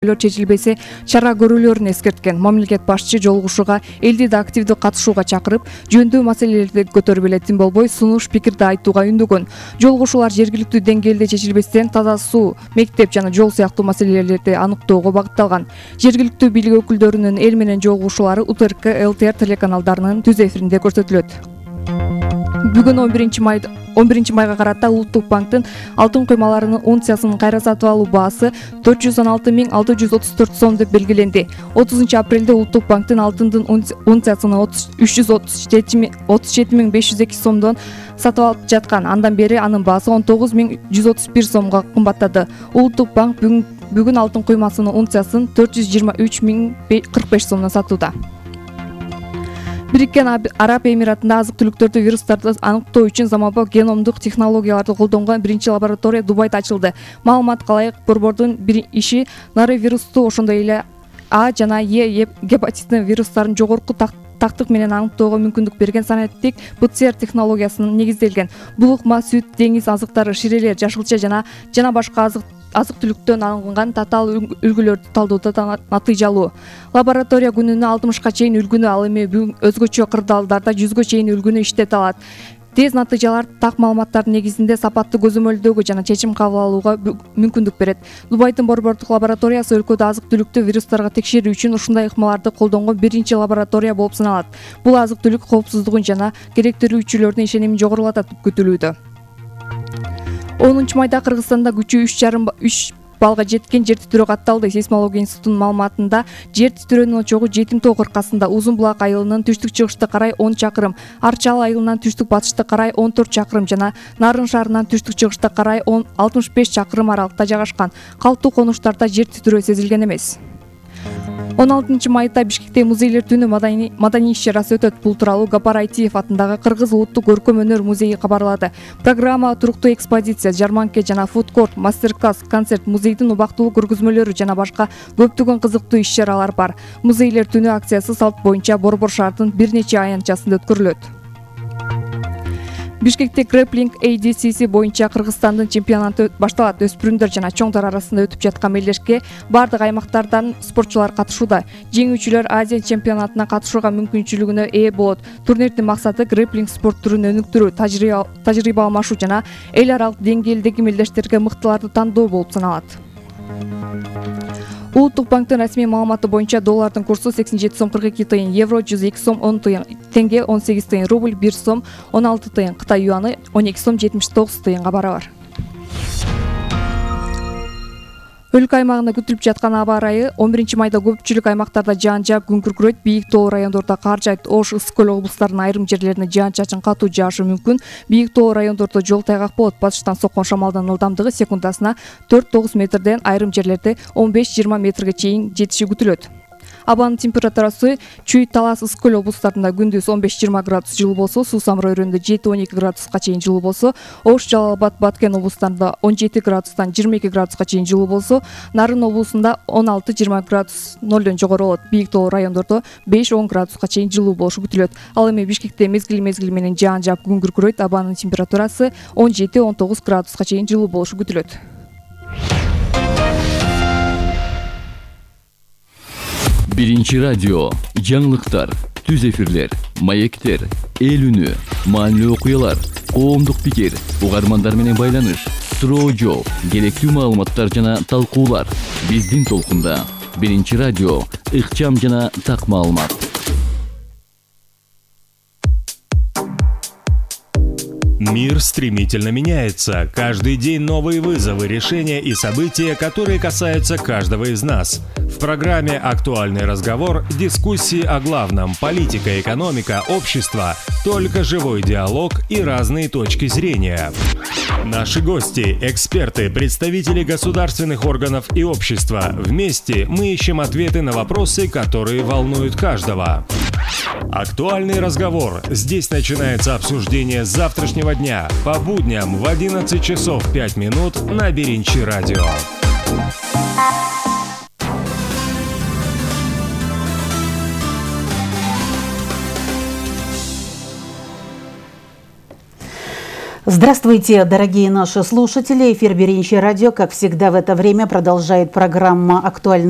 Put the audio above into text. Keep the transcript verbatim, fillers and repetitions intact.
чечилбесе чара көрүүлөрүн эскерткен. Мамлекет башчы жолугушууга элди да активдүү катышууга чакырып, жөндөүү маселелерди көтөрүп эле тим болбой сунуш пикирди айтууга үндөгөн. Жолугушуулар жергиликтүү деңгээлде чечилбестен таза суу, мектеп жана жол сыяктуу маселелерди аныктоого багытталган. Жергиликтүү бийлик өкүлдөрүнүн эл менен жолугушуулары У Т Р К Л Т Р телеканалдарынын түз эфиринде көрсөтүлөт. Бүгүн он биринчи майга карата Улуттук банктын алтын куймаларынын унциясынын кайра сатып алуу баасы төрт жүз он алты миң алты жүз отуз төрт сом деп белгиленди. отузунчу апрелде Улуттук банктын алтындын унциясыны үч жүз отуз жети миң беш жүз эки сомдон сатып алып жаткан. Андан бери анын баасы он тогуз миң жүз отуз бир сомго кымбаттады. Улуттук банк бүгүн алтын куймасынын унциясын төрт жүз жыйырма үч миң кырк беш сомдон сатууда. Бириккен Араб Эмиратында азык-түлүктөрдө вирустарды аныктоо үчүн заманбап геномдук технологияларды колдонгон биринчи лаборатория Дубайда ачылды. Маалыматка ылайык, борбордун бир иши норовирусту, ошондой эле А жана Е гепатитинин вирустарын жогорку тактык менен аныктоого мүмкүндүк берген санаттык П Ц Р технологиясына негизделген. Булукма, сүт, деңиз азыктары, ширелер, жашылча жана жана башка азык азык-түлүктөн алынган татаал үлгүлөрдү талдоодо натыйжалуу. Лаборатория күнүнө алтымышка чейин үлгүнү, ал эми өзгөчө кырдаалдарда жүзгө чейин үлгүнү иштете алат. Тез натыйжалар так маалыматтардын негизинде сапаттуу көзөмөлдөөгө жана чечим кабыл алууга мүмкүндүк берет. Дубайдын борбордук лабораториясы өлкөдө азык-түлүктү вирустарга текшерүү үчүн ушундай ыкмаларды колдонгон биринчи лаборатория болуп саналат. Бул азык-түлүк коопсуздугун жана керектелүүчүлөрдүн ишенимин жогорулатат деп күтүлүүдө. онунчу майда Кыргызстанда күчү үч жарым балга жеткен жер титирөө катталды. Сейсмология институтунун маалыматында жер титирөөнүн очогу Жетим тоо кыркасында, Узун булак айылынан түштүк-чыгышты карай он чакырым, Арчал айылынан түштүк-батышты карай он төрт чакырым жана Нарын шаарынан түштүк-чыгышты карай алтымыш беш чакырым аралыкта жайгашкан. Калктуу конуштарда жер титирөө сезилген эмес. он алтынчы майда Бишкекте музейлер түнү маданий иш-чарасы өтөт. Бул тууралуу Гапар Айтиев атындагы Кыргыз улуттук көркөм өнөр музейи кабарлады. Программа туруктуу экспозиция, жарманке жана фудкорт, мастер-класс, концерт, музейдин убактылуу көргөзмөлөрү жана башка көптөгөн кызыктуу иш-чаралар бар. Музейлер түнү акциясы салт боюнча Борбор шаардын бир нече аянтчасында өткөрүлөт. Бишкекте Grappling A D C C боюнча Кыргызстандын чемпионаты башталат. Өспүрүмдөр жана чоңдор арасында өтүп жаткан мелдешке бардык аймактардан спортчулар катышууда. Жеңүүчүлөр Азия чемпионатына катышууга мүмкүнчүлүгүнө ээ болот. Турнирдин максаты грэпплинг спорт түрүн өнүктүрүү, тажрыйба алмашуу жана эл аралык деңгээлдеги мелдештерге мыктыларды тандоо болуп саналат. Улуттук банктын расмий маалыматы боюнча доллардын курсу сексен жети сом кырк эки тыйын, евро жүз эки сом он тыйын, тенге он сегиз тыйын, рубль бир сом он алты тыйын, Кытай юаны он эки сом жетимиш тогуз тыйынга барабар. Өлкө аймагында күтүлүп жаткан аба ырайы он биринчи майда көпчүлүк аймактарда жаан жаап күн күркүрөйт. Бийик тоо райондордо кар жаайт. Ош, Ысык көл облустарынын айрым жерлерине жаан-чачын катуу жаашы мүмкүн. Бийик тоо райондордо жол тайгак болот. Батыштан соккон шамалдын ылдамдыгы секундасына төрт тогуз метрден айрым жерлерде он беш жыйырма метрге чейин жетиши күтүлөт. Абанын температурасы Чүй, Талас, Ысык көл облустарында күндүз он беш жыйырма градус жылуу болсо, Суу Самыр өрөөнүндө жети он эки градуска чейин жылуу болсо, Ош, Жалал Абад, Баткен облустарында он жети градустан жыйырма эки градуска чейин жылуу болсо, Нарын облусунда он алты жыйырма градус нолдон жогору болот. Бийик тоо райондордо беш он градуска чейин жылуу болушу күтүлөт. Ал эми Бишкекте мезгил-мезгил менен жаан жаап күн күркүрөйт. Абанын температурасы он жети он тогуз градуска чейин жылуу болушу күтүлөт. Биринчи радио, жаңылыктар, түз эфирлер, маектер, эл үнү, маанилүү окуялар, коомдук пикир, угармандар менен байланыш, суроо жооп, керектүү маалыматтар жана талкуулар. Биздин толкунда. Биринчи радио, ыкчам жана так маалымат. Мир стремительно меняется. Каждый день новые вызовы, решения и события, которые касаются каждого из нас. В программе «Актуальный разговор» дискуссии о главном – политика, экономика, общество, только живой диалог и разные точки зрения. Наши гости – эксперты, представители государственных органов и общества. Вместе мы ищем ответы на вопросы, которые волнуют каждого. «Актуальный разговор». Здесь начинается обсуждение завтрашнего дня по будням в одиннадцать часов пять минут на Биринчи радио. Здравствуйте, дорогие наши слушатели. Эфир Биринчи радио, как всегда в это время, продолжает программа «Актуальный